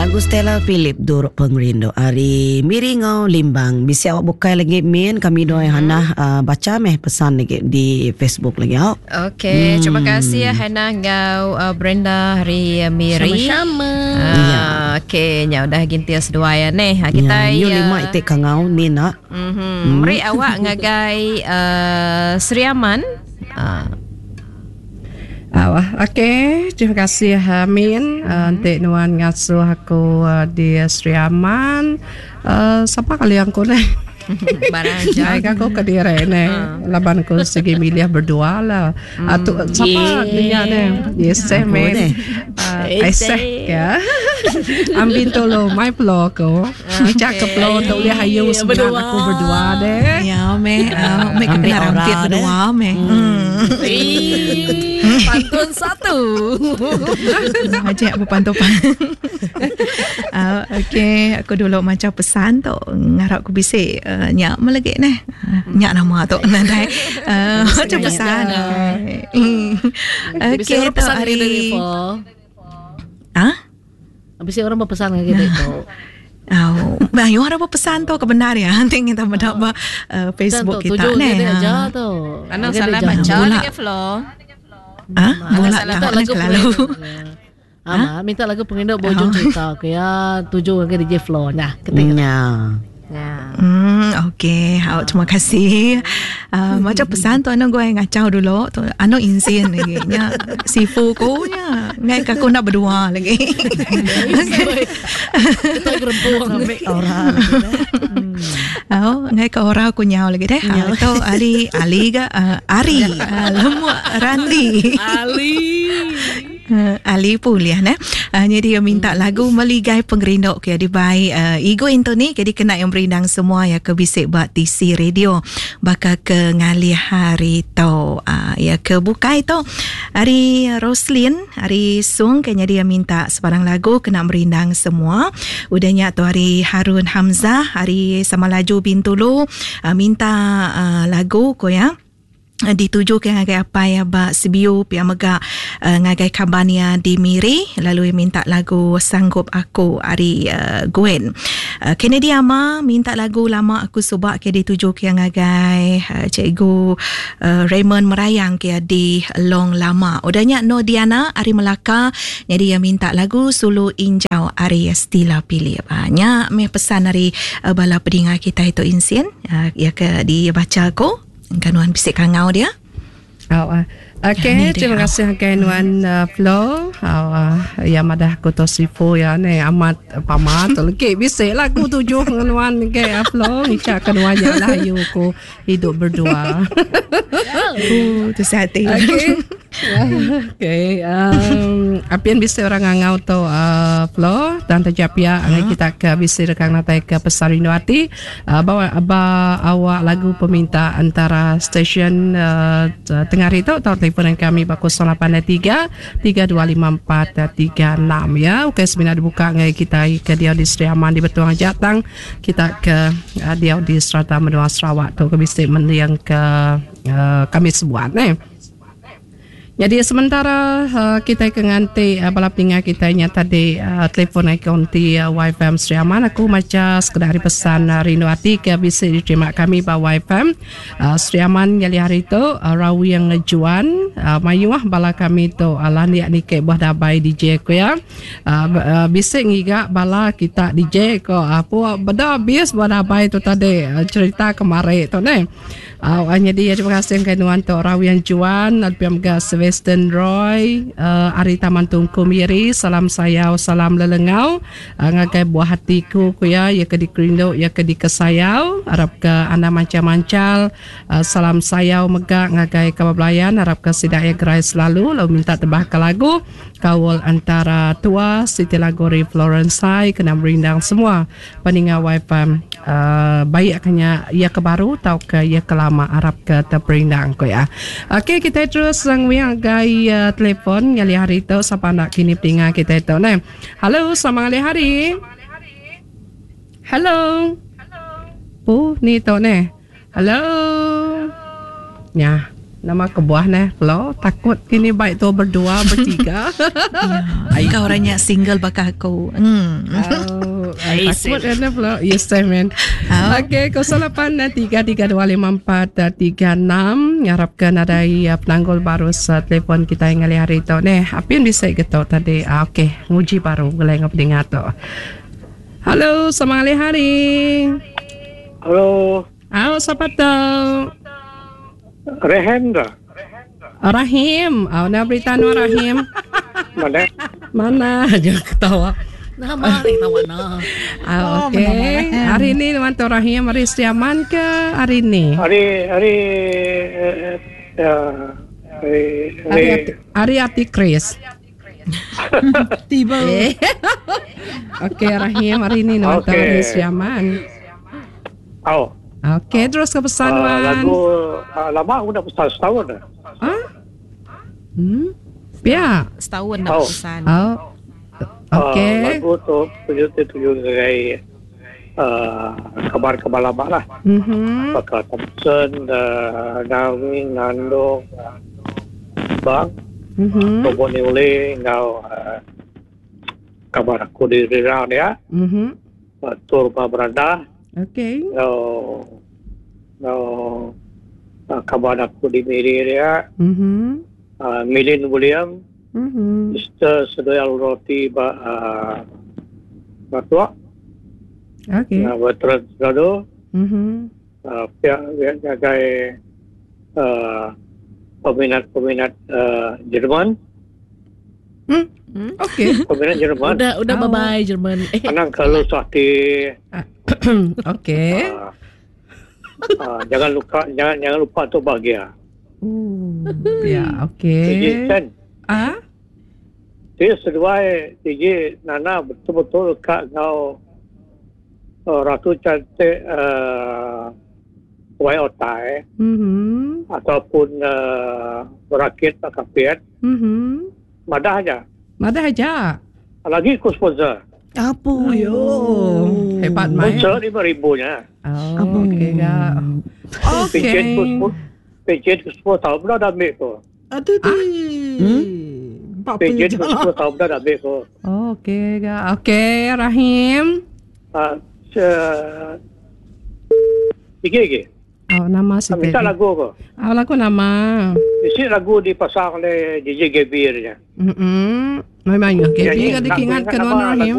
Lagu Stella Philip Duruk Pengerindu ari Miri enggau Limbang. Bisi awak bukai lagi min kami doi Hannah bacha meh pesan lagi di Facebook lagi au. Okey, terima kasih ya Hannah enggau Brenda ari Miri. Sama-sama. Ya. Okey, nya udah gintir seduai ya neh. Ha kitai. Ya, nyu lima iti kangau ni nak. Mhm. Meri awak ngagai Sri Aman. Okey, terima kasih Min enti nuan ngasuh aku di Sri Aman. Sapa kali aku neh? Barang aja. Ai aku kediri neh. Laban aku sigi milih berdua lah. Tu sapa nya neh? Yes Min. Iseh ke. Ambin tulu mai pelo aku. Ngica ke pelo tu ulih ayu semengat aku berdua deh. Ya meh, meh ke kena rampit berdua meh. Pantun satu. Ajak bepantun. Okey, aku dulu macha pesan tu ngarap ku bisi nya meh lagi neh. Nya nama tu nadai macha pesan. Okey, tu hari. Ah? Bisi orang bepesan ngagai kita tu. Au, mayuh orang bepesan tu ke bendar ya. Enti kita meda ba Facebook kita neh. Tuju aja tu. Anang salah baca lagi Flo. Ah, bula minta lagu kelalu. Ah, minta lagu pengerindu ba ujung cerita ke ya tuju ngagai DJ Flo nya. Ketik. Nya. Hmm, okey. Hau, terima kasih. Macam pesan tu anu gua ngacau dulu tu anu insin lagi nya sifu ku nya ngai ka aku enda berdua lagi. Kita gerempung ambil aura lagi deh. Au ngai ka aura ku nyau lagi deh. Tu Ali Ali ga Ari lemuk Randi. Ali. Ali pun ulih neh. Nyadi iya minta lagu Meligai Pengerindu ke dibai Igu Anthony ke dikena iya merindang semua iya ke bisi ba tisi radio baka ke ngalih hari tu. Iya ke bukai tu ari Roslin ari Song ke nyadi iya minta sebarang lagu kena merindang semua. Udah nya tu ari Harun Hamzah ari Samalaju Bintulu minta lagu ku iya. Ditujuka ngagai apai iya ba Sibiu pia mega ngagai kaban iya di Miri lalu iya minta lagu Sanggup Aku ari Gwen. Kennedy Ama minta lagu Lama Aku Suba ke ditujuka iya ngagai Cikgu Raymond Merayang ke iya di Long Lama. Udah nya Noh Diana ari Melaka nyadi iya minta lagu Sulu Injau ari Stila Philip. Nya mih pesan ari bala pedinga kitai tu Insin iya ke dibacha aku. Engka nuan bisi kangau dia. Au ah. Okey, terima kasih ngagai nuan Flo. Au ah, iya madah aku tu sifu iya ne amat pama tu legi bisi lagu tujuh ngan nuan ngagai Flo ngicha ke nuan nya lah ayu ku idup berdua. Uh, tusah ati. Okey. Okey, um, apin bisi orang ngangau tu uh, Flo dan taja pia angai kita ke bisi rekang natai ke pesar rindu ati uh, ba, ba awak lagu peminta antara stesen uh, tengah hari tu tau telefon kami ba 083 3254 36 ya. Okey semina dibuka ngai kita ke diau di Sri Aman di Betong aja tang kita ke uh, diau di serata menua Sarawak tu ke bisi mending ke uh, kami sebuat neh. Nyadi sementara kitai ke nganti bala peninga kitai nya tadi telefon ikon ti YFM Sri Aman aku macha sekeda ari pesan rindu ati ke bisi diterima kami ba YFM Sri Aman ngalih hari tu Rawing Juan mayuh bala kami tu landik niki buah dabai DJ ku iya bisi ngiga bala kita DJ ko apu beda abis buah dabai tu tadi cerita kemari tu neh. Au ai nyadi terima kasih ngagai nuan tu Rawian Juan lalu pia mega Sebastian Roy uh, ari Taman Tungku Miri salam sayau salam lelengau uh, ngagai buah hatiku ku iya iya ke dikerindu iya ke dikesayau arap ke anda mancal-mancal uh, salam sayau mega ngagai kaban belayan arap ke sida iya gerai selalu lalu minta tebah ke lagu kaul antara tua siti lagu ari Florence Sai kena merindang semua Peninga wifi baik ke nya iya ke baru tauka iya ke lama arap ke teperindang ku iya. Okey kitai terus nguing ngagai telefon ngalih hari tu sapa enda kini peninga kitai tu neh. Hello selamat ngalih hari. Hello. Puh ni tu neh. Hello. Nya. Nama kebuah neh Flo takut kini baik tua berdua bertiga. Ya, kau orangnya single baka aku. Hmm. Oh, takut kan Flo. Yes, man. Oh. Okey, 08 3325436 ngarapkan ada ya penanggul baru sa telefon kita yang ngalih hari tu neh. Apin bisa gitu tadi. Ah, okey, nguji baru gulai ngau pendengar tu. Halo, selamat ngalih hari. Halo. Au, sapa tu? Rahim ke? Rahim. Au, nama berita nuan Rahim? Mana? Mana aja ketawa. Nama ni tawa na. Ah, okey. Hari ni nuan tu Rahim hari Setiaman ke hari ni? Hari hari eh, eh, hari hari hari Ati Chris. Tiba. Eh. Okey Rahim hari ni nuan tu Okey. hari Setiaman. Oh. Okey, terus ke pesan Ah, nuan. lagu lama aku dah pesan setahun dah. Ah? Hmm? Ya. Setahun nak Oh. pesan. Oh. Ah, Okey. lagu tu tuju tuju sebagai kabar-kabar lama lah. Mhm. Apakah Thompson, Darwin, Nando, Bang, Mhm. Tobo Niule, ngau kabar aku di Rirang dia, Mhm. Tur Beranda, Okey. ngau ngau kabar aku di Miri dia, Mhm. Milin William, Mhm. Mr. Sedoyal Roti ba Batua, Okey. Veteran Senado, Mhm. pihak pihak jagai peminat-peminat Jerman, Hmm. Okey. peminat Jerman. Udah udah Oh. bye bye Jerman. Eh, Anang kalau sakti Okey. jangan lupa jangan jangan lupa untuk bahagia. Ya, Tinggi okey. kan. Ah? Dia seduai tinggi Nana betul-betul kak kau ratu cantik wai otai Mhm. ataupun berakit tak kapiat Mhm. madah aja. Madah aja. Lagi ku sponsor. Apa yo? Hebat mai. Sponsor lima ribunya. Oh, okey ga. Pencet ku Okey. sepuluh pencet ku sepuluh tahun dah dah ambil tu. Aduh tu. Hmm? Apa Pencet ku 10 tahun dah dah ambil tu. Okey ga. Okey, Rahim. Tinggi lagi. Oh, nama si Minta lagu ke? Oh, lagu nama. Isi lagu dipasang oleh DJ Gaby dia. Mhm. Memang ya. Gaby Nyanyi ka lagu dikingat ingat ke nama nuan Rahim. Lagu